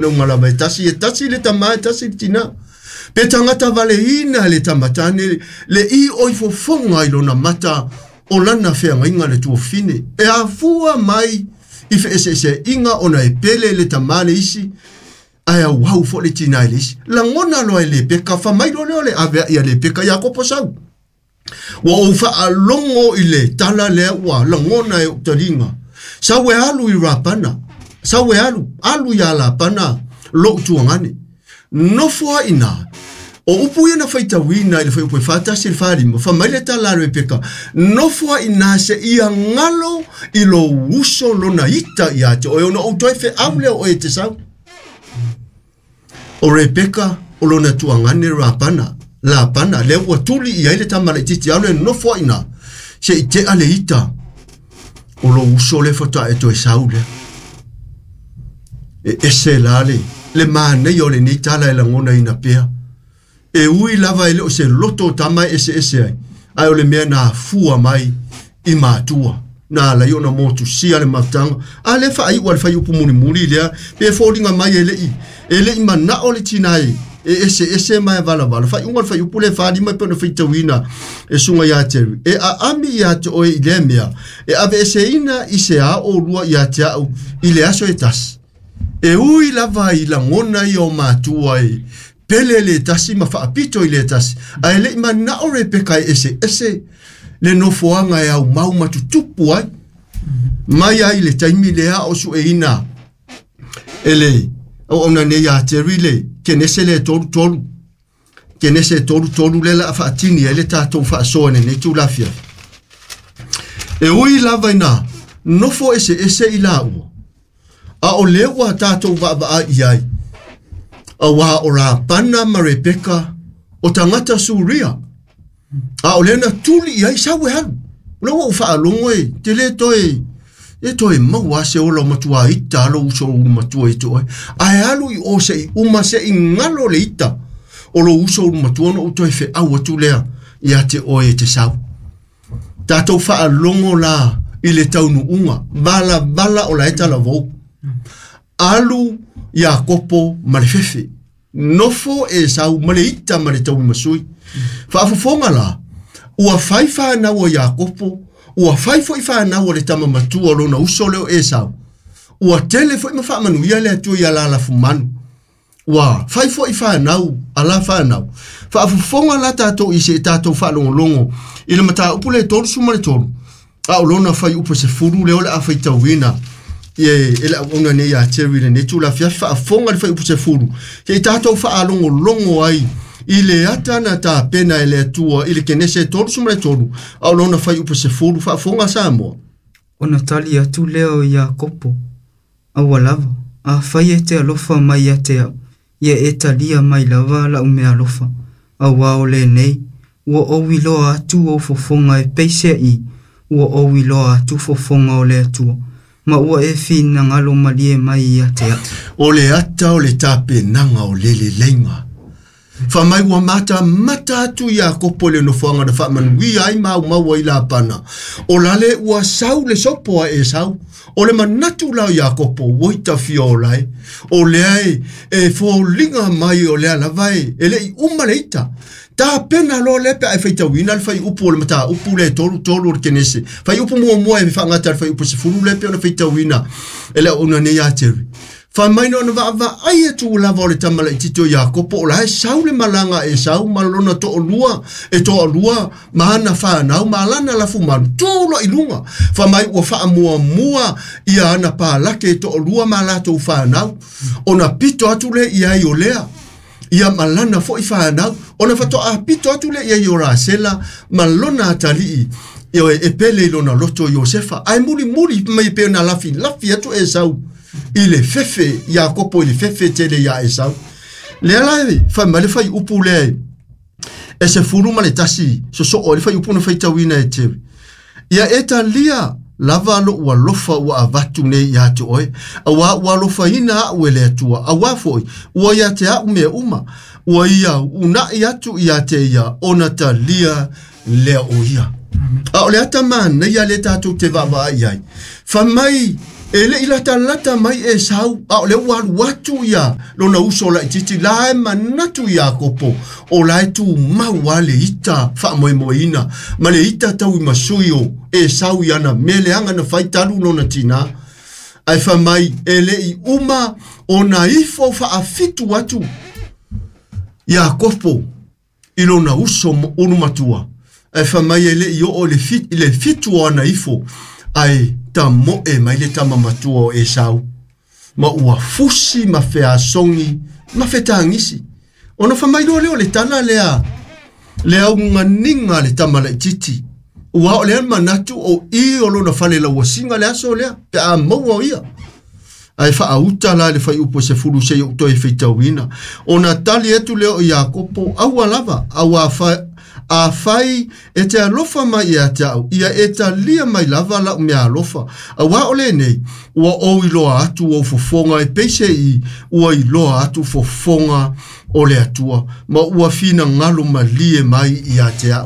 Luma lava e tasi, e tasi le tama, e tasi le tina. Pe tagata valeina le tamatane, le i oi fofoga i lona mata o lana feagaiga le tuafine. E afua mai i feeseeseaiga ona e pele le tama le isi, ae auau foi le tina i le isi. Lagona loa e Lepeka, fai mai loa lea o le aveai a Lepeka Iakopo sau. Ua ou faalogo i le tala lea ua lagona e ou taliga. Sau e alu i Rapana, sau e alu, alu ia Lapana lou tuagane. Nofo ai ina. O upu ia na faitauina i le fuaiupu e 41 i le 45, fai mai le tala a Rebeka, nofo ai ina seia galo i lou uso lona ita ia te oe, ona ou toe feau lea o oe e te sau. O Rebeka o lona tuagane Rapana, Lapana, lea ua tuli i ai le tama laitiiti alu e nofo ai ina, se i tea le ita o lou uso lea faatoa e toe sau lea. E ese la le, le manaia o lenei tala e lagonaina pea. E ui lava e le o se loto o tama e eseese ai, ae o le mea na afua mai i matua. Na ala ai ona motusia le mafutaga. A lea faaiu a le fuaiupu mulimuli lea, pe foliga mai e le i, e le i manao le tina e, e eseese ma e valavala. Faaiuga o le fuaiupu lea e 45 e pei ona faitauina e susuga ia Terry. E aami ia te oe i lea mea, e aveeseina i se a oulua ia te au i le aso e tasi. E ui lava i lagona ia o matua e pele le tasi ma faapito i le tasi, ae le i manao Rebeka e eseese le nofoaga e aumau ma tutupu ai. Mai ai le taimi lea o sueina e le auauna nei ia Terry le Kenese le 33. Kenese 33 lea la a faatini ai le tatou faasoa i lenei itula afiafi. E ui lava ina nofo eseese i laua, a o lea ua tatou vaavaai i ai, auā o Lapana ma Rebeka o tagata Suria, a o lea na tuli i ai sau e alu. O lea ua ou faalogo e te le toe e toe maua se ola o matua ita lou uso ulu matua i te oe. Ae alu i o se i uma se i ngalo le ita o lou uso ulu matua ona ou toe feau atu lea ia te oe e te sau. Tatou faalogo la i le taunuuga valavala o la e talavou. Alu Iakopo ma le fefe. Nofo Esau ma le ita ma le tauimasui. Faafofoga la, ua fai fanau a Iakopo, ua fai foi fanau a le tama matua o lona uso lea o Esau. Ua tele foi ma faamanuia le Atua ia Lalafumanu. Ua fai foi fanau a la fanau. Faafofoga la tatou i se i tatou faalogologo i le mataupu lea e 33, a o lona fuaiupu e 10 lea o le a faitauina e le auauna nei ia Terry i lenei itula afiafi. Faafofoga i le fuaiupu 10, se i tatou faalogologo ai i le ata na tapena e le Atua i le Kenese 33, a o lona fuaiupu 10. Faafofoga Samoa. Ona tali atu lea o Iakopo, Aua lava, afai e te alofa mai ia te au, ia e talia mai lava lau meaalofa, auā o lenei, ua ou iloa atu ou fofoga e peiseai, ua ou iloa atu fofoga o le Atua, ma ua e finagalo malie mai ia te au. O le ata o le tapenaga o le leleiga. Fai mai ua matamata atu Iakopo i le nofoaga na faamanuia ai ma aumau ai Lapana. O lale ua sau le sopo a Esau. O le manatu la o Iakopo, ua tafia o lae. O lea e, e foliga mai o lea lava e, e le i uma le ita. Tapena loa lea pe a e faitauina le fuaiupu o le mataupu lea e 33 o le Kenese. Fuaiupu muamua e faagata i le fuaiupu 10 lea e pei ona faitauina e le auauna nei ia Terry. Fai mai na ona vaavaai atu lava o le tama laitiiti o Iakopo, o la e sau le malaga a Esau ma lona toalua, e toalua ma ana fanau ma lana lafumanu, tu loa i luga. Fai mai ua faamuamua ia ana palake e toalua ma latou fanau, ona pito atu lea i ai o Lea, ia ma lana foi fanau, ona faatoa pito atu lea i ai o Rasela ma lona atalii, e pele i lona loto Iosefa. Ae mulimuli mai pe na lafilafi atu Esau i le fefe, Iakopo i le fefe tele ia Esau. Lea la e fai mai le fuaiupu lea e 11 sosoo ai le fuaiupu na faitauina e Terry. Ia e talia lava lou alofa ua avatu nei ia te oe, auā ua alofaina au e le Atua, auā foi ua ia te au mea uma, ua ia uunai atu ia te ia ona talia lea o ia. A o le ata manaia lea tatou te vaavaai ai. Fai mai E le'i latalata mai Esau, a o lea ua alu atu ia lona uso laitiiti la e manatu Iakopo o la e tumau lava le ita faamoemoeina ma le ita tauimasui o Esau i ana mea leaga na fai talu lona tinā. Ae fai mai e le'i uma ona ifo faafitu atu Iakopo i lona uso ulumatua. Ae fai mai e le'i oo i le fitu o ana ifo, ae tamoe mai le tama matua o Esau, ma ua fusi ma feasogi ma fetagisi. Ona fai mai loa lea o le tala lea, le auganiga a le tama laitiiti, ua o lea manatu o i o lona fale lauasiga le aso lea, pe a maua o ia. Ae faauta la le fuaiupu 10 seia ou toe faitauina. Ona tali atu lea o Iakopo, aua lava, afai e te alofa mai ia te au, ia e talia mai lava lau meaalofa. Auā o lenei, ua ou iloa atu ou fofoga e peiseai ua iloa atu fofoga o le Atua, ma ua finagalo malie mai ia te au.